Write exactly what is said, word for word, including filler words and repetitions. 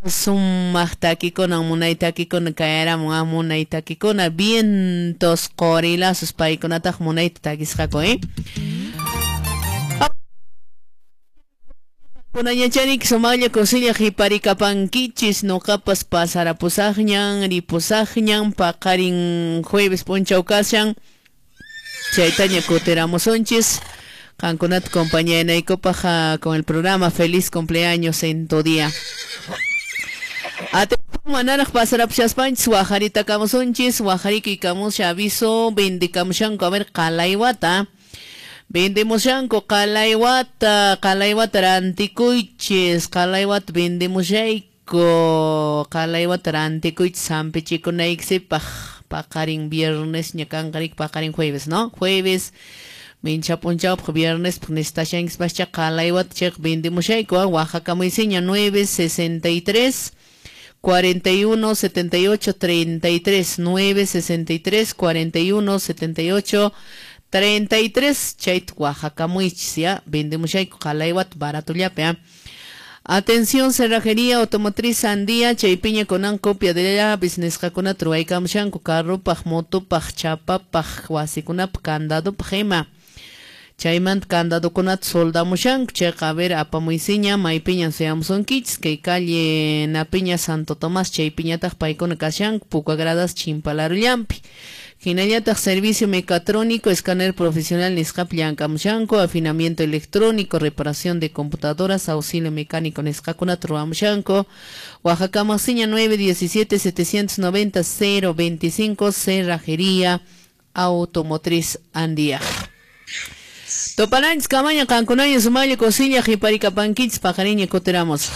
Sumaq takikuna, munay takikuna kayaramun, ah, munay takikuna, vientos qorilazos paykunataq munayta takisqaku, eh? Kunañacharik sumaqlla kusilla hiparikapankichis, noqapas pasarapusaqñan, ripusaqñan, paqarin jueves p'unchaw kashan, chaytaña kutiramusunchis. Qankunata compañanaykupaq con el programa Feliz Cumpleaños en tu día. Atención, manaraq pasarapusaspanchis wajarita kamusunchis, wajariki kamusha aviso, vendikamushanku, a ver, qalaywata. Vendemushanku qalaywata, qalaywata rantikuychis, qalaywata vendemushayku, qalaywata rantikuychis hampichikunaykisipaq, paqarin viernes ña kanqarik, paqarin jueves, ¿no? Jueves mincha p'unchawpaq viernespaq necesitashankispascha qalaywata chayqa vendemushayku, Oaxaca nueve sesenta y tres cuarenta y uno setenta y ocho treinta y tres, nueve sesenta y tres cuarenta y uno setenta y ocho treinta y tres, chayta Oaxaca ya vendemushayku qalaywata baratullapi, ¿eh? Atención, cerrajería automotriz Sandía, chaypiña kunan copia de llaves nisqakunata ruwaykamushanku carrupaq, motopaq, chapapaq, wasikunapaq, candadopaq ima. Chaymanta candadokunata soldamushanku, chayqa a ver apamuysiña maypiñan suyamusunkichis, kay calle Napiña Santo Tomás, chaypiñataq paykuna kashanku, Puka Gradas Chimpalarullampi. Hinallataq servicio mecatrónico, escáner profesional nisqapi llamkamushanku, afinamiento electrónico, reparación de computadoras, auxilio mecánico nisqakunata ruwamushanku. Oaxaca nueve diecisiete setecientos noventa cero veinticinco, Cerrajería Automotriz Andía. Toparanchis kamaña qankunaña sumaqlla kusilla hiparikapankichis paqariña kutiramos.